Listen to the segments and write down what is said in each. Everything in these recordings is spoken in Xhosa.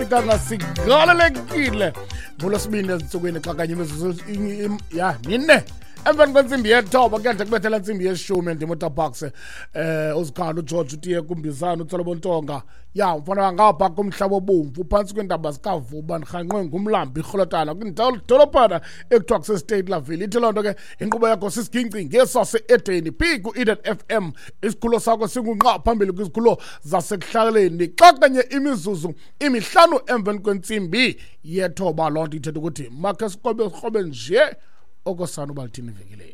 Singafikanga sigalelekile ngolwesibini ezintsukwini xa kanye imizuzu ya mine emveni kwentsimbi yethoba kuyade kubethela ntsimbi yeshumi. Ndim uTabax, uzikhanda uGeorge utiye kumbizana uTsolobontonga ya mfana ngapha kumhlaba obomvu phantsi kweentaba zikaVuba, ndirhanqwe ngumlambi irholotana kwindolophana ekuthiwa kuseState Laville. Ithi loo nto ke inkqubo yakho sisiginci ngesase-Edeni phi ku-Eden FM, isikhululo sakho singunqa phambili kwizikhululo zasekuhlaleni. Xa kanye imizuzu 5 emveni kwentsimbi yethoba, loo nto ithetha ukuthi makhe sikrobe sikrobe nje okosana uba lithini ivenkileni.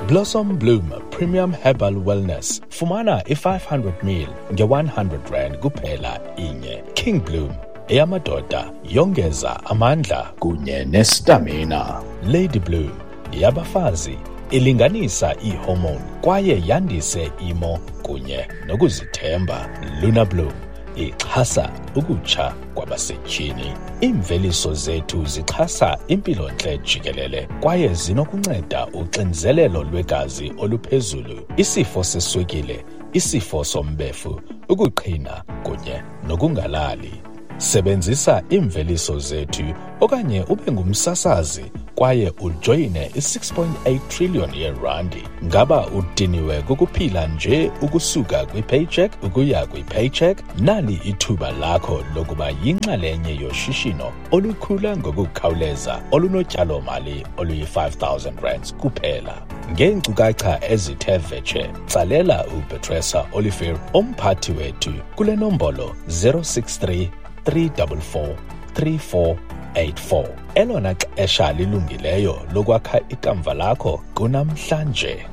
Blossom Bloom Premium Herbal Wellness. Fumana i-500 ml nge-100 rand kuphela inye. King Bloom eyamadoda yongeza amandla kunye nestamina. Lady Bloom yabafazi ilinganisa iihormone kwaye yandise imo kunye nokuzithemba. Luna Bloom ixhasa ukutsha kwabasetyhini. Iimveliso zethu zixhasa impilontle jikelele kwaye zinokunceda uxinzelelo lwegazi oluphezulu, isifo seswekile, isifo sombefu, ukuqhina kunye nokungalali. Sebenzisa iimveliso zethu okanye ube ngumsasazi kwaye ujoyine i-6.8 trillion yeerandi. Ngaba udiniwe kukuphila nje ukusuka kwi-paycheck ukuya kwi-paycheck? Nali ithuba lakho lokuba yinxalenye yoshishino olukhula ngokukhawuleza olunotyalomali oluyi-5,000 rands kuphela. Ngeenkcukacha ezithe vetshe, tsalela uPetresa Olivier, umphathi wethu, kule nombolo 063 344 3484. Elona xesha lilungileyo lokwakha ikamva lakho kunamhlanje.